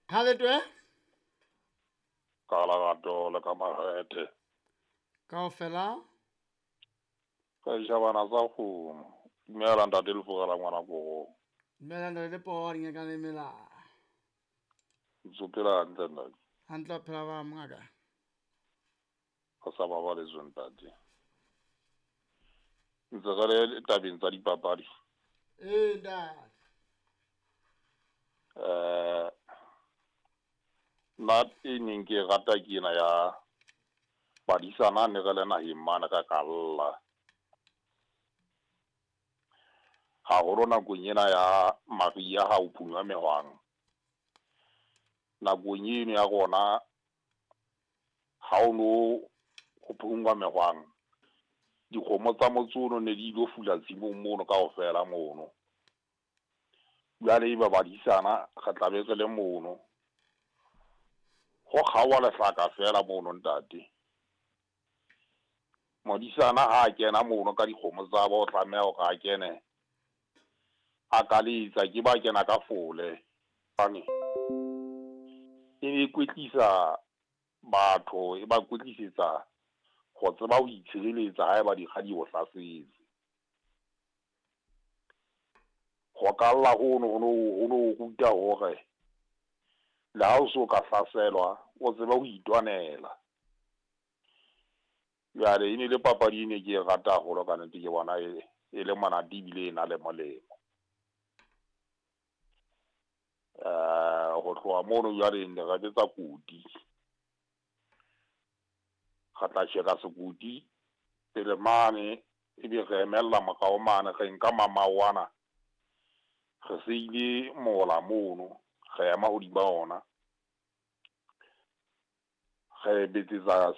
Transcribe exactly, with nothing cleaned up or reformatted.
Ha le twe? Ka lerato le ka makgethe. Kaofela? Ka ditjhabana tsa kgomo. Dumela ntate Lefura la ngwana Korong. Dumela ntate Lepoho dingaka le mela. Ntso phela hantle ntate. Hantle o phela ba mongaka. Re sa babaletswe ntate. Ntse re le tabeng tsa dipapadi. Ee ntate. Eh nna e neng ke e rata ke ena ya badisana ne re le naheng mane re kalla. Haholo nakong ena ya mariha ha ho phunywa mehwang. Nakong eno ya rona ha o no ho phungwa mehwang, dikgomo tsa motse ono ne di ilo fula tshimong mono kaofela mono. Jwale eba badisana re tla be re le mono. Ho kgaoha lehlaka feela mono ntate. Modisana ha a kena mono ka dikgomo tsa bo, o tlameha hore a kene a kaletsa ke ba kena ka fole. Hobane e ne kwetlisa batho, e ba kwetlisetsa ho tseba ho itshireletsa haeba dikga di o hlasetse. Ho kalla hono ho no ho no ruta hore le ha o so ka hlaselwa, o tsebe ho itwanela. Jwale e ne le papadi e ne ke e rata haholo ka nnete, ke bona e e le monate ebile e na le molemo. Eh ho tloha mono jwale ne re betsa koti. Re tla tjheka sekoti pele mane, ebe re emella morao mane, re nka mamao ana, re seile mola mono, re ema hodima ona. Re betsetsa